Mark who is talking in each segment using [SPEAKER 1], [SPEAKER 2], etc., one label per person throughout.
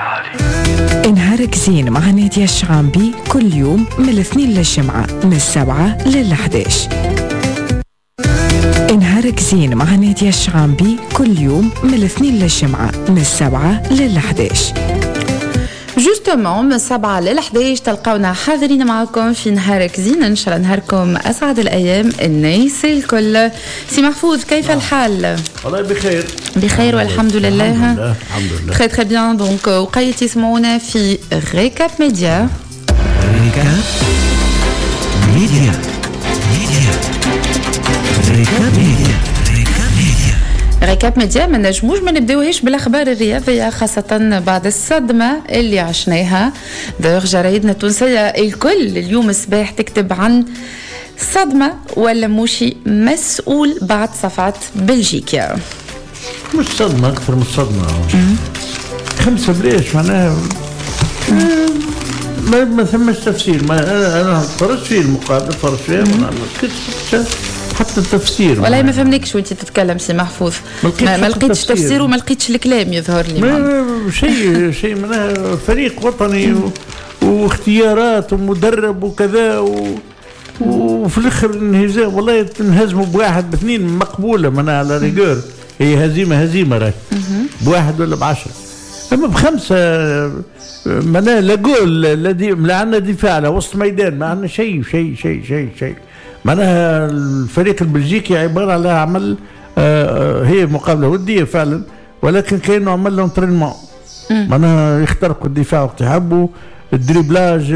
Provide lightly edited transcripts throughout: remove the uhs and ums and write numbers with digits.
[SPEAKER 1] العالي. نهارك زين مع نادية الشعامبي كل يوم من الاثنين للجمعة من 7 لل11. نهارك زين مع نادية الشعامبي كل يوم من الاثنين للجمعة من 7 لل11.
[SPEAKER 2] justement من 7 لل 11 تلقاونا حاضرين معكم في نهارك زين. ان شاء الله نهاركم اسعد الايام الناس الكل. سي محفوظ، كيف الحال؟
[SPEAKER 3] والله بخير.
[SPEAKER 2] بخير والحمد لله.
[SPEAKER 3] الحمد لله، الحمد لله.
[SPEAKER 2] très très bien. donc وقيت يسمعونا في Récap Média.
[SPEAKER 4] Récap Média، Média، Récap Média، Récap Média.
[SPEAKER 2] Récap Média، ما نجموش ما نبداوهاش بالاخبار الرياضيه، خاصة بعد الصدمة اللي عشناها. d'ailleurs جرايدنا التونسية الكل اليوم الصباح تكتب عن صدمة ولموشي مسؤول بعد صفعة بلجيكا.
[SPEAKER 3] مش صدمه، اكثر من صدمه. خمسة بلاش، معناها ما ثماش تفسير. ما انا تفرجت فيه المقابله، تفرجت فيها، ما لقيتش حتى التفسير.
[SPEAKER 2] والله ما فهمناكش وانت تتكلم سي محفوظ.
[SPEAKER 3] ما لقيتش
[SPEAKER 2] ما
[SPEAKER 3] حتى
[SPEAKER 2] لقيتش
[SPEAKER 3] تفسير.
[SPEAKER 2] تفسير وما لقيتش الكلام يظهر لي.
[SPEAKER 3] ما شيء معناها فريق وطني واختيارات ومدرب وكذا وفي الاخر انهزام. والله تنهزموا بواحد باثنين مقبوله، معناها à la rigueur هي هزيمة هزيمة راهي، بواحد ولا ب10، اما بخمسة معناها لا جول لا، دي لا عندنا دفاع لا وسط ميدان، ما عندنا شيء شيء شيء شيء شيء. معناها الفريق البلجيكي عبارة على عمل هي مقابله وديه فعلا، ولكن كانه عمل l'entraînement، معناها يخترقوا الدفاع وقت يحبوا، ال dribblage،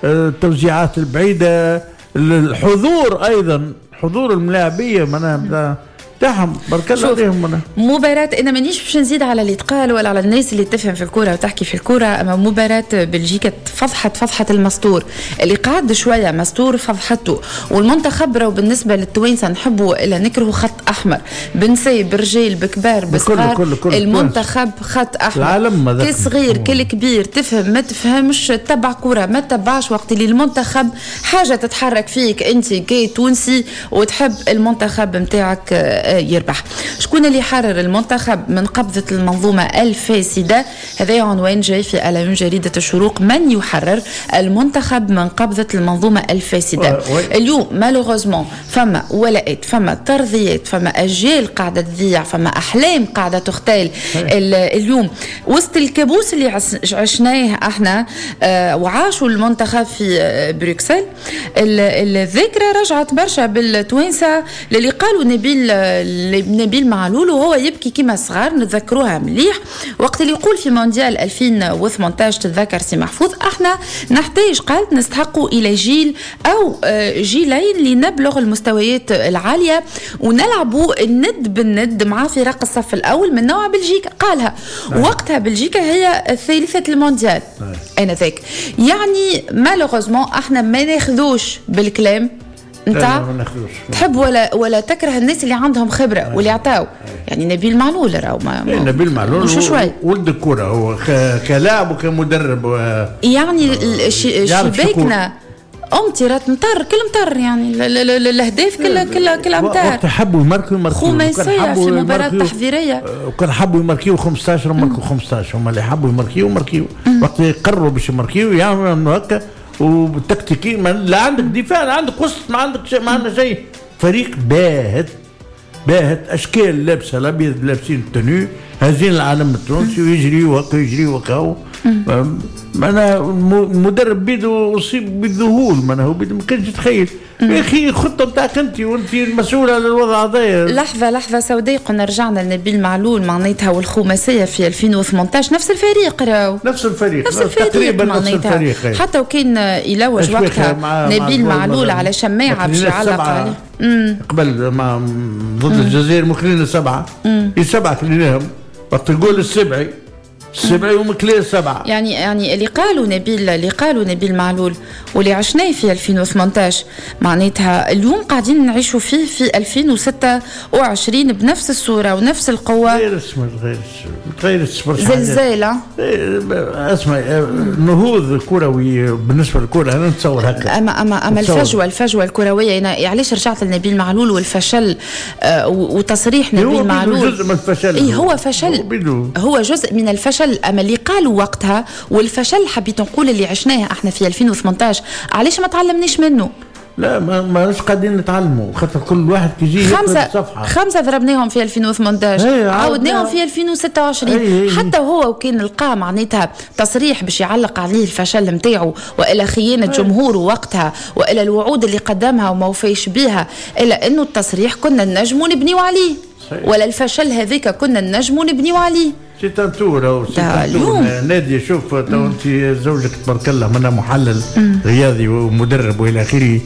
[SPEAKER 3] التوزيعات البعيده، الحضور ايضا، حضور الملاعبيه معناها تاعهم، بارك الله
[SPEAKER 2] شوف،
[SPEAKER 3] عليهم معناها.
[SPEAKER 2] مباراة، أنا مانيش باش نزيد على اللي تقال ولا على الناس اللي تفهم في الكورة وتحكي في الكورة، أما مباراة بلجيكا فضحت المستور اللي قعد شوية مستور، فضحته. والمنتخب راهو بالنسبة للتوانسة نحبوا إلا نكرهوا خط أحمر، بنساء برجال بكبار بصغار،
[SPEAKER 3] كل
[SPEAKER 2] المنتخب خط أحمر.
[SPEAKER 3] العالم هذاك.
[SPEAKER 2] كل صغير كل كبير، تفهم ما تفهمش، تبع كورة ما تبعش، وقت اللي المنتخب حاجة تتحرك فيك أنت كي تونسي وتحب المنتخب نتاعك يربح. شكون اللي حرر المنتخب من قبضة المنظومة الفاسدة؟ هذا عنوان جاي في à la une جريدة الشروق، من يحرر المنتخب من قبضة المنظومة الفاسدة؟ اليوم malheureusement فما ولاءات، فما ترضيات، فما أجيال قاعدة تضيع، فما أحلام قاعدة تختال. اليوم وسط الكابوس اللي عشناه احنا وعاشوا المنتخب في بروكسل، الذاكرة رجعت برشا بالتوانسة للي قالوا نبيل معلول وهو يبكي كما صغار، نتذكروها مليح وقت اللي يقول في مونديال 2018، تتذكر سي محفوظ، احنا نحتاج، قالت نستحقوا الى جيل او جيلين لنبلغ المستويات العالية ونلعبوا الند بالند مع فرق الصف الاول من نوع بلجيكا. قالها وقتها بلجيكا هي ثالثة المونديال انذاك. يعني malheureusement احنا ما ناخذوش بالكلام
[SPEAKER 3] لا،
[SPEAKER 2] نتاع
[SPEAKER 3] ما ناخذوش.
[SPEAKER 2] تحب ولا تكره الناس اللي عندهم خبره واللي عطاو، يعني نبيل معلول راهو ما
[SPEAKER 3] إيه، نبيل معلول
[SPEAKER 2] مش
[SPEAKER 3] هو
[SPEAKER 2] شوي.
[SPEAKER 3] ولد الكرة هو كلاعب وكمدرب
[SPEAKER 2] يعني
[SPEAKER 3] يعرف
[SPEAKER 2] شباكنا امطرت مطر كل مطر، يعني الاهداف كل امتار.
[SPEAKER 3] وقت حبوا يماركوا يماركوا.
[SPEAKER 2] خماسية
[SPEAKER 3] وكان حبوا
[SPEAKER 2] في مباراة
[SPEAKER 3] يماركوا
[SPEAKER 2] تحضيرية.
[SPEAKER 3] وكان حبوا يماركيو 15 ماركوا 15. هما اللي حبوا يماركيو ماركيو، وقت يقرروا باش يماركيو يعملوا هكا وبالتكتيكي. لا عندك دفاع لا عندك وسط، ما عندك شيء، ما عندنا شيء. فريق باهت باهت، اشكال لابسه الابيض، لابسين ال tenue، هازين العلم التونسي ويجريوا هكا يجريوا هكا. معناها المدرب بيدو اصيب بالذهول، معناها هو بيدو ما كانش يتخيل. يا اخي الخطة بتاعك انت وانت المسؤول على الوضع هذايا.
[SPEAKER 2] لحظة سوداء، قلنا رجعنا لنبيل معلول معناتها والخماسية في 2018، نفس الفريق راهو.
[SPEAKER 3] نفس الفريق.
[SPEAKER 2] نفس الفريق.
[SPEAKER 3] تقريبا نفس
[SPEAKER 2] معناتها
[SPEAKER 3] الفريق، إيه.
[SPEAKER 2] حتى وكان يلوج
[SPEAKER 3] أشباه
[SPEAKER 2] وقتها
[SPEAKER 3] مع
[SPEAKER 2] نبيل معلول
[SPEAKER 3] مع
[SPEAKER 2] على شماعة باش
[SPEAKER 3] ماكلين
[SPEAKER 2] يعلق
[SPEAKER 3] السبعة.
[SPEAKER 2] عليه.
[SPEAKER 3] قبل مع ضد الجزائر مكلين سبعة، السبعة كليناهم وقت الجول السبعي، السبعي ومكلين سبعة.
[SPEAKER 2] يعني اللي قالوا نبيل معلول واللي عشناه في 2018 معناتها اليوم قاعدين نعيشوا فيه في 2026 بنفس الصورة ونفس القوة.
[SPEAKER 3] غير اسمه غير غير برشا حاجات.
[SPEAKER 2] زلزال.
[SPEAKER 3] إيه، اسمع، النهوض الكروي بالنسبة للكرة انا نتصور هكا.
[SPEAKER 2] اما
[SPEAKER 3] نتصور.
[SPEAKER 2] الفجوه الكرويه، انا علاش رجعت لنبيل معلول والفشل وتصريح
[SPEAKER 3] هو
[SPEAKER 2] نبيل
[SPEAKER 3] بيدو
[SPEAKER 2] معلول.
[SPEAKER 3] جزء من الفشل.
[SPEAKER 2] اي هو فشل.
[SPEAKER 3] هو بيدو.
[SPEAKER 2] هو جزء من الفشل. فشل، اما اللي قالوا وقتها والفشل حبيت نقول اللي عشناه احنا في 2018 علاش ما تعلمناش منه؟
[SPEAKER 3] لا ما قاعدين نتعلموا، خاطر كل واحد كيجي
[SPEAKER 2] خمسة ضربناهم في 2018 عاودناهم في 2026. حتى هو وكان لقى معناتها تصريح باش يعلق عليه الفشل نتاعو والا خيانة جمهوره وقتها والا الوعود اللي قدمها وما وفاش بها، الا انه التصريح كنا نجموا نبنيو عليه، ولا الفشل هذاك كنا نجموا نبنيو عليه.
[SPEAKER 3] c'est un tour نادي. شوف تو انت زوجك تبارك الله منا محلل رياضي ومدرب والى اخره،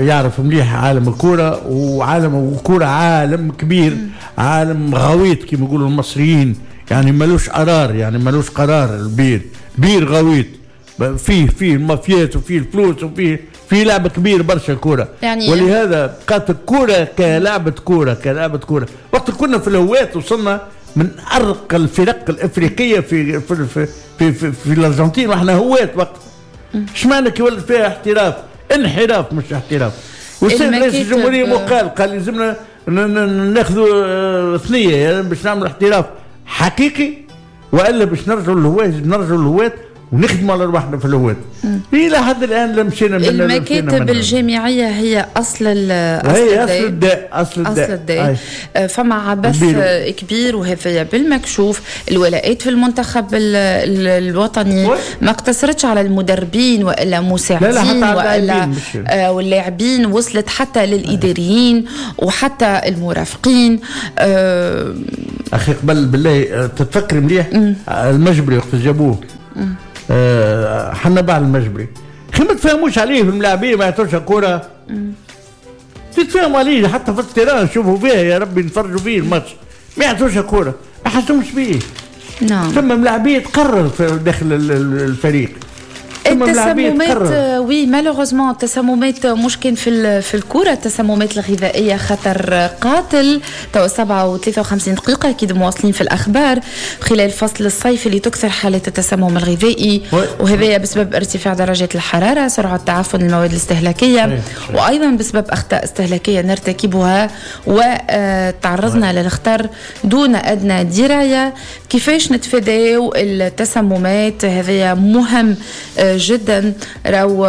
[SPEAKER 3] يعرف مليح عالم الكورة، وعالم الكورة عالم كبير، عالم غويط كما يقولوا المصريين، يعني ملوش قرار، يعني ملوش قرار. البير بير غويط، فيه المافيات وفيه الفلوس وفيه لعبه كبير برشا الكورة يعني. ولهذا بقات الكورة كلعبة كورة، كلعبة كورة. وقت كنا في الهواة وصلنا من ارقى الفرق الافريقية في في في في, في, في الارجنتين، واحنا هواة وقت. اش معنى كي ولد فيها احتراف؟ انحراف مش احتراف. والسيد رئيس الجمهورية قال لازمنا ناخذوا ثنيه يعني باش نعملوا احتراف حقيقي، والا باش نرجعوا للهواة، نرجعوا للهواة ونخدموا على رواحنا في الهواة. الى حد الان لا مشينا من
[SPEAKER 2] المكاتب الجامعية هي اصل
[SPEAKER 3] الداء، اصل الداء.
[SPEAKER 2] فما عبث كبير، وهذا بالمكشوف. الولاءات في المنتخب الوطني ما اقتصرتش على المدربين والا مساعدين والا واللاعبين، وصلت حتى للاداريين وحتى المرافقين.
[SPEAKER 3] اخي قبل بالله تتفكر مليح المجبري وقت جابوه، حنا بعد المجبري خي ما تفهموش عليه في الملاعبيه، ما يعطوش كورة تتفاهموا عليه حتى في ال terrain نشوفوا فيها، يا ربي نتفرجوا فيه الماتش، ما يعطوش كورة، ما حسوش بيه.
[SPEAKER 2] نعم.
[SPEAKER 3] ثم ملاعبيه تقرر في داخل الفريق.
[SPEAKER 2] التسممات oui malheureusement التسممات مش كان في الكره، التسممات الغذائية خطر قاتل. تو 7:53 دقيقة اكيد مواصلين في الاخبار. خلال فصل الصيف اللي تكثر حالات التسمم الغذائي، وهذا بسبب ارتفاع درجات الحرارة، سرعة تعفن المواد الاستهلاكية، وايضا بسبب اخطاء استهلاكية نرتكبها وتعرضنا للخطر دون ادنى دراية. كيفاش نتفاداو التسممات؟ هذا مهم جدا. راو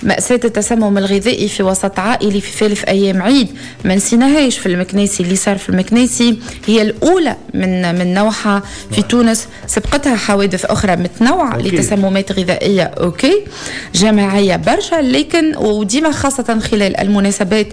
[SPEAKER 2] مأساة التسمم الغذائي في وسط عائلي في ثالث أيام عيد ما نسيناهاش في المكناسي، اللي صار في المكناسي هي الأولى من نوعها في تونس، سبقتها حوادث أخرى متنوعة لتسممات غذائية OK جماعية برشا، لكن وديما خاصة خلال المناسبات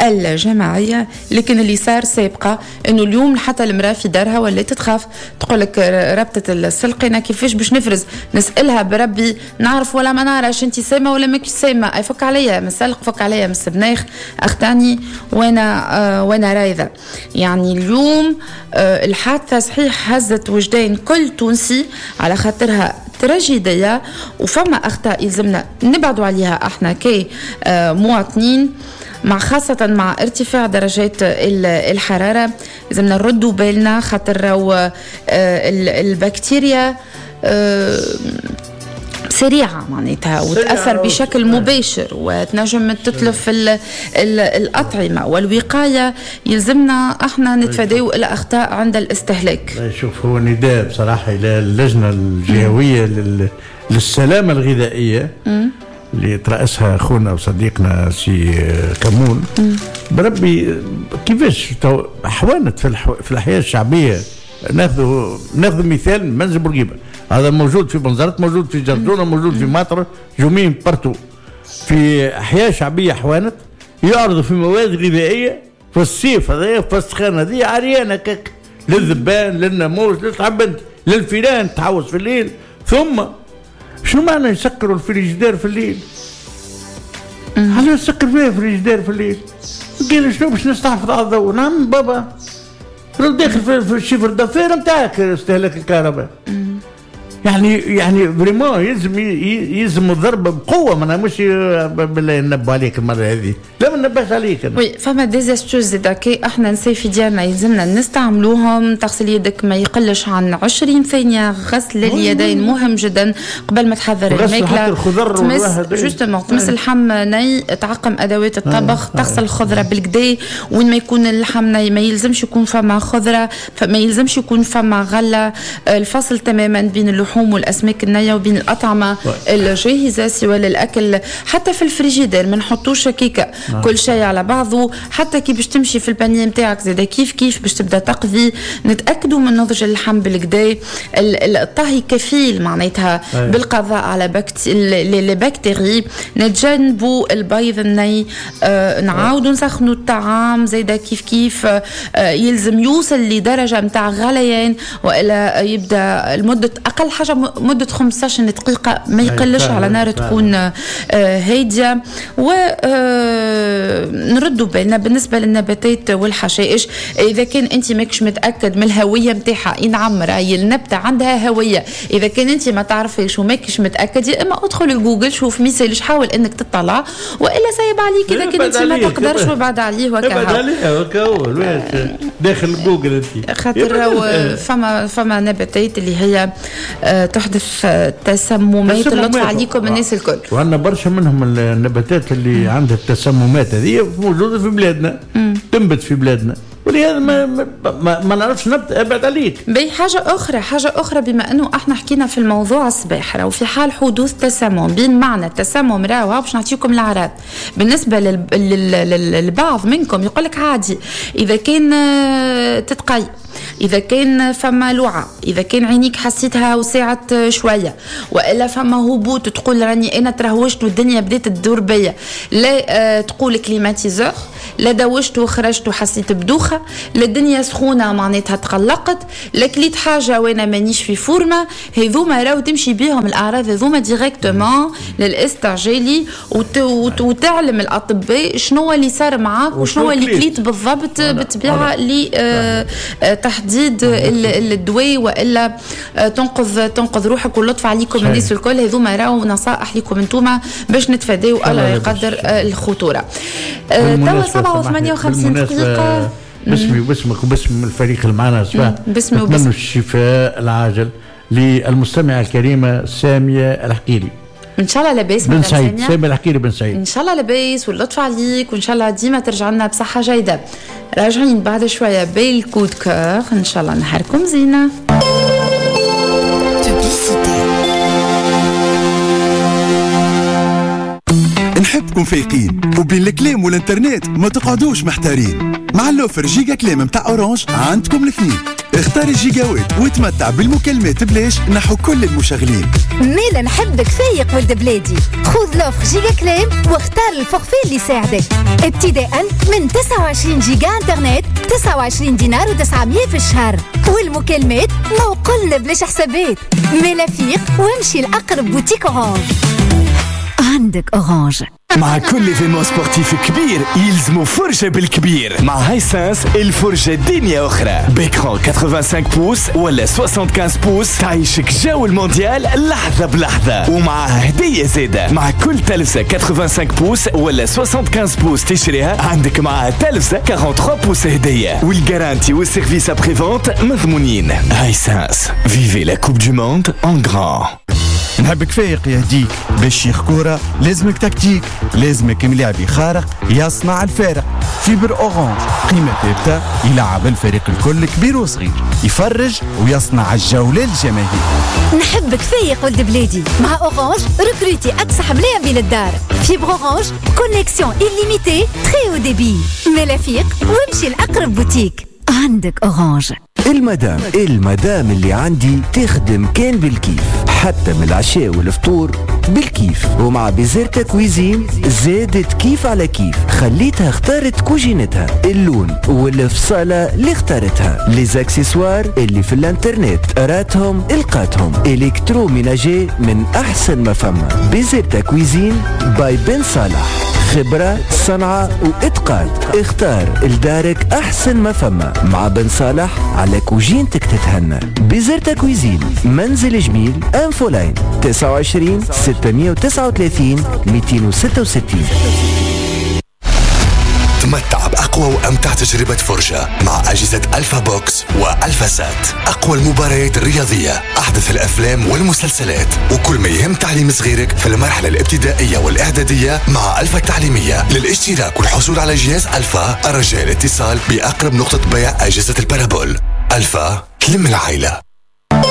[SPEAKER 2] الجماعية. لكن اللي صار سابقة إنه اليوم حتى المرأة في دارها ولات تخاف، تقولك ربطة السلقينة كيفاش باش نفرز، نسألها بربي نعرف ولا ما نعرفش، انت سامة ولا ماكش سامة، اي فك عليا من السلق، فك عليا من السبناخ، اختاني وانا رايضه. يعني اليوم الحادثة صحيح هزت وجدان كل تونسي على خاطرها تراجيديه، وفما اخطاء يلزمنا نبعدوا عليها احنا كي مواطنين، مع خاصة مع ارتفاع درجات الحرارة لازمنا نردوا بالنا، خاطر البكتيريا سريعة معناتها وتأثر بشكل مباشر وتنجم تتلف الأطعمة، والوقاية يلزمنا احنا نتفاداو الأخطاء عند الاستهلاك.
[SPEAKER 3] شوف هو نداء بصراحة إلى اللجنة الجهوية للسلامة الغذائية اللي ترأسها أخونا وصديقنا سي كمون. بربي كيفاش حوانت في الأحياء الشعبية. ناخذ مثال منزل بورقيبة، هذا موجود في بنزرت، موجود في جرجونة، موجود في مطر، جومين partout في أحياء شعبية حوانت يعرضوا في مواد غذائية في الصيف هذا في السخانة هذه عريانة كك للذبان للناموس للتعبد للفيران تحوس في الليل. ثم شنو معنى يسكروا الفريجدير في الليل؟ علاش يسكر فيها الفريجدير في الليل؟ قال شنو باش نستحفظ على الضوء؟ نعم بابا لو داخل في ال chiffre d'affaires نتاعك استهلاك الكهرباء. يعني vraiment يلزم الضرب بقوة، ما مش بالله ننبه عليك المرة هذه، لا ما نبهت عليك أنا.
[SPEAKER 2] oui فما des astuces زادا كي احنا نسي في ديالنا يلزمنا نستعملوهم. تغسل يدك ما يقلش عن 20 ثانية، غسل اليدين مهم جدا قبل ما تحضر الماكلة، تمس justement تمس اللحم ني، تعقم ادوات الطبخ، تغسل الخضرة بالكدا وين ما يكون اللحم ني، ما يلزمش يكون فما خضرة، فما يلزمش يكون فما غله. الفصل تماما بين اللحوم والاسماك النية وبين الاطعمة الجاهزة سواء للاكل، حتى في الفريجيدير ما نحطوش كيكة كل شيء على بعضه، حتى كي باش تمشي في ال panier نتاعك زاده كيف كيف باش تبدا تقضي، نتاكدوا من نضج اللحم بالكدا. الطهي كفيل معناتها بالقضاء على les bactéries، نتجنبوا البيض الني، نعاودوا نسخنوا الطعام زاده كيف كيف، يلزم يوصل لدرجة نتاع غليان والا يبدا المدة اقل حاجة مده 15 دقيقة ما يقلش على نار تكون هادية. و نردوا بالنا بالنسبة للنباتات والحشائش، اذا كان انت ماكش متاكد من الهوية نتاعها، نعم راهي النبتة عندها هوية، اذا كان انت ما تعرفيش وماكش متاكد يا اما ادخل لجوجل شوف ميسالش، حاول انك تطلع، والا سايب عليك اذا كان انت ما تقدرش وبعد عليه وكهو،
[SPEAKER 3] ابعد عليه وكهو داخل جوجل انت،
[SPEAKER 2] خاطر فما نباتات اللي هي تحدث تسممات، اللطف عليكم الناس الكل.
[SPEAKER 3] وعندنا برشا منهم النباتات اللي عندها التسممات هذه موجودة في بلادنا، تنبت في بلادنا، ولهذا ما نعرفش نبت، ابعد عليك.
[SPEAKER 2] بي حاجة اخرى، حاجة اخرى بما انه احنا حكينا في الموضوع الصباح، راهو في حال حدوث تسمم، بين معنى التسمم راهو باش نعطيكم الاعراض. بالنسبة للبعض منكم يقول لك عادي اذا كان تتقي، إذا كان فما لوعة، إذا كان عينيك حسيتها وسعت شوية، وإلا فما هبوط تقول راني أنا ترهوشت والدنيا بدات تدور بيا، لا تقول climatiseur، لا دوشت وخرجت وحسيت بدوخة، لا الدنيا سخونة معناتها تقلقت، لا كليت حاجة وأنا مانيش في forme، هذوما راهو تمشي بيهم الأعراض هذوما directement للاستعجالي وتعلم الأطباء شنو اللي صار معاك وشنو اللي كليت بالضبط، بالطبيعة لتحديد الدواء والا تنقذ روحك. واللطف عليكم الناس الكل، هذوما راهو نصائح لكم انتوما باش نتفاداو الله يقدر الخطورة. توا 7:58 دقيقة.
[SPEAKER 3] باسمي وباسمك وباسم الفريق اللي معنا صباح،
[SPEAKER 2] باسمي وباسم
[SPEAKER 3] الشفاء العاجل للمستمعه الكريمة سامية الحقيري.
[SPEAKER 2] ان شاء الله لاباس
[SPEAKER 3] بن سعيد، سامي الحقيري بن سعيد،
[SPEAKER 2] ان شاء الله لاباس واللطف عليك، وان شاء الله ديما ترجع لنا بصحة جيدة. راجعين بعد شوية بال coup de cœur، ان شاء الله نهاركم زينة.
[SPEAKER 5] نحبكم فايقين وبين الكلام والانترنت ما تقعدوش محتارين. مع l'offre giga كلام متاع Orange عندكم الاثنين، اختار الجيجاوات وتمتع بالمكالمات بلاش نحو كل المشغلين.
[SPEAKER 6] مالا نحبك فايق ولد بلادي، خذ l'offre giga كلام واختار ال forfait اللي يساعدك، ابتداء من 29 جيجا انترنت 29 دينار و900 في الشهر، والمكالمات ما وقلنا بلاش حسابات. مالا فيق وامشي لاقرب boutique Orange. عندك Orange.
[SPEAKER 7] مع كل événement sportif كبير يلزمو فرجة بالكبير. مع Hisense الفرجة دنيا أخرى، ب écran 85 pouces ولا 75 pouces تعيشك جو المونديال لحظة بلحظة، ومعها هدية زادة. مع كل تلفزة 85 pouces ولا 75 pouces تشريها عندك معها تلفزة 43 pouces هدية، وال garantie وال service après-vente مضمونين. Hisense، vivez la Coupe du monde en grand.
[SPEAKER 5] نحبك فايق يهديك باش شيخ كورة، لازمك تكتيك، لازمك ملاعبي خارق يصنع الفارق. fibre Orange قيمة ثابتة يلعب الفريق الكل كبير وصغير، يفرج ويصنع الجولة للجماهير.
[SPEAKER 6] نحبك فايق ولد بلادي، مع Orange recruter اكسح ملاعبي للدار. fibre Orange connexion illimitée très haut débit. مالا فيق وامشي لاقرب بوتيك. عندك Orange.
[SPEAKER 4] المدام اللي عندي تخدم كان بالكيف، حتى من العشاء والفطور بالكيف، ومع Bizerta Cuisine زادت كيف على كيف، خليتها اختارت كوجينتها، اللون والفصالة اللي اختارتها، les accessoires اللي في الانترنت راتهم القاتهم، électroménager من احسن ما فما. Bizerta Cuisine by بن صالح، خبرة صنعة وإتقان. اختار لدارك أحسن ما فما مع بن صالح، على كوجينتك تتهنى. Bizerta Cuisine، منزل جميل، infoline 29 639 266.
[SPEAKER 8] تمتع بأقوى وأمتع تجربة فرجة مع أجهزة ألفا بوكس وألفا سات. أقوى المباريات الرياضية، أحدث الأفلام والمسلسلات، وكل ما يهم تعليم صغيرك في المرحلة الابتدائية والإعدادية مع ألفا التعليمية. للاشتراك والحصول على جهاز ألفا الرجاء الاتصال بأقرب نقطة بيع أجهزة ال parabole. ألفا تلم العائلة.